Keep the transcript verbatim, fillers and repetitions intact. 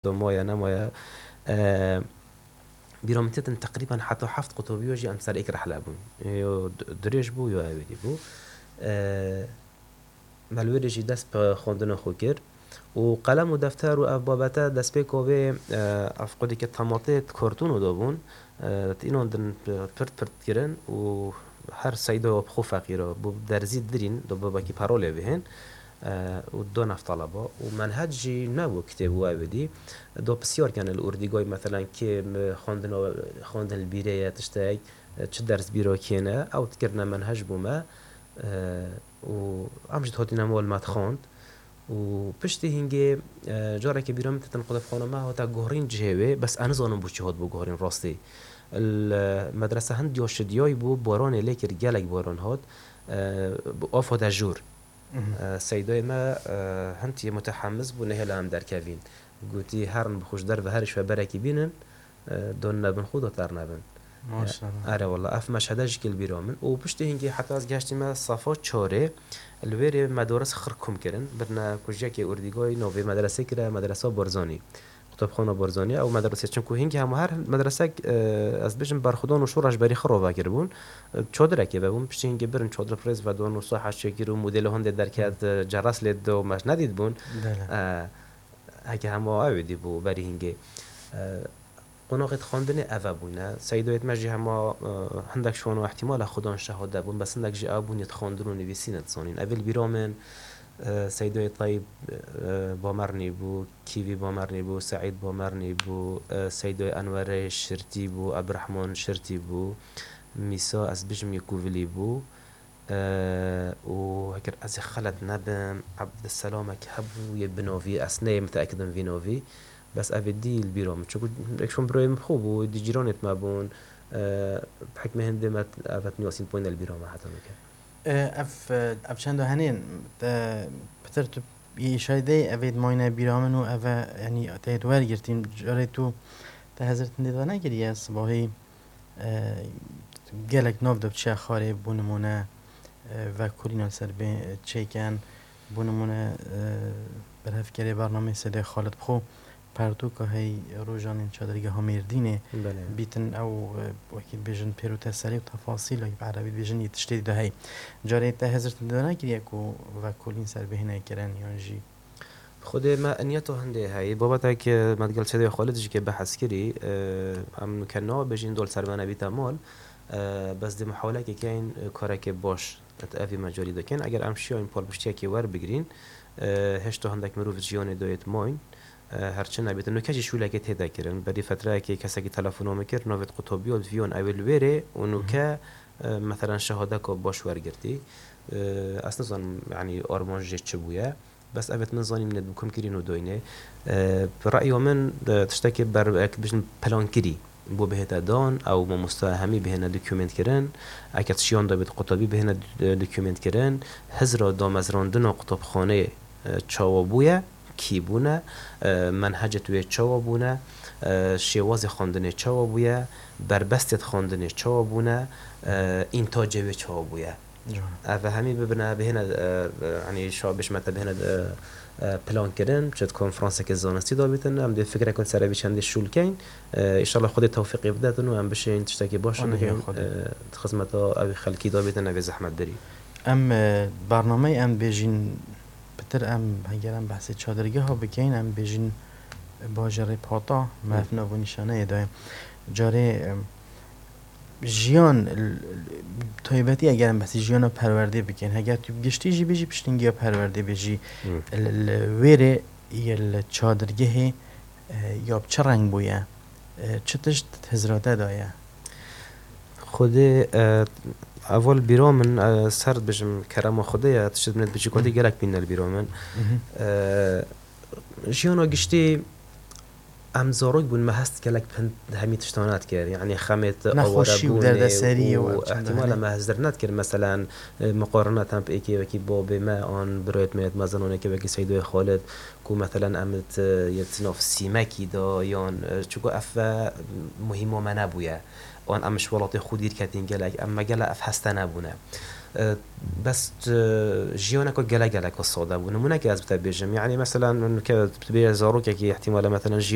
do maye nemaye. E, bîra min têtin teqrîben heta heft qutobiyo jî em ser êk rehle bûn. Yo d-, dirêj bû, yo ewêdî bû. E, me li wê rê jî dest bi xwendina xwe kir. Û qelem û defter û ev babete destpêka vê, e, ev qudî ke tematê di kartûno de bûn, e, di înan din pirt pirt kirin û her seyda bi xwe feqîra bû derzî dirîn, do bibekî parolê bihên, e, û do neftalaba. Û menhec jî nebû kitêb û ewêdî. Do pisyar kene li ûrdîgay, meselen, kê mi xwendina, xwendin li bîrê ye tiştek, e, çi ders bîra kêne, ew dikirine menhec bû me, e, û em jî dihatîne mal me dixwend. Û piştî hingê, e, carekê bîra min têtin qutebxana me hate guherîn cihê wê, bes ez nizanim bo çi hat bo guherîn rastî. Li medrese hindiya şidiyayî bû, baranê lê kir, gelek baran hat, e, bi av hate jûr. Mhm. E, seydayê me, e, hindiye mutehemiz bû, nehêla em derkevîn. Gotî, herin bi xwe ji derve herî ji we berekî bînin, e, don nebin xwe, do ternebin. Maşallah. E, erê wela, ev meşhede jî kil bîra min. Û piştî hingê heta ez geştîme safa çarê, li wê rê medaris xir kom kirin. Birine kujiyekê ûrdîgayî navê medresê kire, Medresa Barzanî. Qutebxana Barzanî, ew medresê, çinku hingê hema her medresek, e, ez bêjim berxwedan û şoreş berî xwe ravekiribûn. E, çadirekê vebûn, piştî hingê birin çadir bi rêz vedon û saha çêkir û modêlê hindê derket, e, ceres lê dide û me nedîtibûn. Belê. E, heke hema ew ê dîbû berî hingê. E, Qonaxê dixwendinê eve bûne. Seydayêt me jî hema, e, hindek şano ihtimal e xudan şehade bûn, bes hindek jî ew bûn yê dixwendin û nivîsîne dizanîn. Evê li bîra min, e, Seydayê Tayîb, e, Bamernî bû, Kîvî Bamernî bû, Seîd Bamernî bû, e, Seydayê Enwerê Şirtî bû, Ebdirehman Şirtî bû, Mîsa ez bijim yê Kuvilî bû. E, û heger ez ê xelet nebim, Ebdiselamek hebû yê bi navî, ez neyê miteekid im vî navî, bes ev ê dî li bîra min. Çunku hindek şon birayê min xwe bû, dî cîranêt me bûn, e, bi hikmê hindê me ev et niyasîn poyne li bîra me heta nûke. E, ev, e, ev çenda henên, e, pitir tu yê îşayê de, ev ê mayne bîra min û ev e, yanî te yê wergirtîn, carê tu te hezir tindê de nekiriye, sibahî E, gelek nav de biçe xwarê, bo nimûne, e, vekolîna li ser bê çêken, bo nimûne, e, berhevkerê bernameyê Seydê Xalid bi xwe pertûka hey rojanên çadirgeha Mêrdînê Belê. Bîtin ew, e, wekî dibêjin pêr û teserî û tefasîl, wekî bi erebî dibêjin yê tiştê de hey. Carê te hezir tindê de nekiriye ku vekolîn ser bê hêne kirin yan jî Xwedê me niyeta hindê heyî. Babetek, e, me digel Seydê Xalid jî ke behs kirî, e, em ke nabêjin dol ser me nebîte mal, e, bes dê muhawelekê keyn, e, karekê baş, et evî me carî dikin. Eger em şiyayîn palpiştiyekê werbigirîn, e, hêşta hindek mirov ji jiyanê dayêt mayîn, e, her çi nebîtin. Nûke jî şûlekê tê de kirin. Berî fetreyekê kesekî telefona min kir, navêt qutabiya viyan ew ê li wê rê û nûke, e, meselen şehadeka baş wergirtî. E, ez nizanim, yanî armanc jê çi bûye. Bes evêt min zanî min ê dibikim kirîn û doyne. E, bi re'ya min, e, tiştekê ber, ek bijin plan kirî. Bo bihête dan, ew mamosta hemî bihêne dokument kirin. Eke şiyan de bit qutabî bihêne, e, dokument kirin. Hizra damezrandina qutabxanê, e, çawa bûye, kî bûne, e, menhecê wê çawa bûne, e, şêwazê xwendinê çawa bûye, berbestê xwendinê çawa bûne, e, întacê wê çawa bûye. Can. Ev hemî bibine, bihêne, e, e, yanî şa bişmete bihêne, e, e, plan kirin, çi konferanseke zanistî dabîtin, em dê fikrek ser evî çendî şûl keyn. E, înşallah Xwedê tewfîqê bidetin û em bişên tiştekî baş Amîn ya bikin, Xwedê. E, di xizmeta evî xelkî dabîtin, evê zehmet dirî. Em, e, bernameyê em bêjin, pitir em, heger em behsê çadirgeha bikeyn, em bêjin bajarê Pata, me Hı. ev nav û nîşaneyê daye. Carê, e, Jiyan, l-, l-, taybetî eger em behsî jiyana perwerdê bikin, heger tu giştî jî bijî piştîngiya perwerdê bijî, Hı. li, li wê rê yê li çadirgehê, e, ya bi çi reng bûye, e, çi tişt hizra te daye? Xwedê, e, eval bîra min, e, ser dibêjim kerema Xwedê ye, tişt min bijî ku Hı. gelek bîne li bîra min. Hı hı. E, jiyana giştî Em zarok bûn, me hest gelek pind hemî tiştan nedikir. Yanî xemêt Nexweşî û awarebûnê derdeseriyê û û ev çend ihtimala hene. me hezir nedikir. Meselen, e, miqarina tem bi êkê wekî babê me an birayêt me yê mezinonekê wekî Seydoyê Xalid, ku meselen em it, e, yê di nav sîmekî de yan, e, çunku ev ve muhîma me nebûye. Wan em ji welatê xwe dîr ketîn gelek, em me gelek ev heste nebûne. E, bes, e, jiyoneke gelek gelek sade bû. Nimûneke ez bi te bêjim. Yanî mesela, min ke tu bêje zarokekî, ihtimale, mesela, jiyê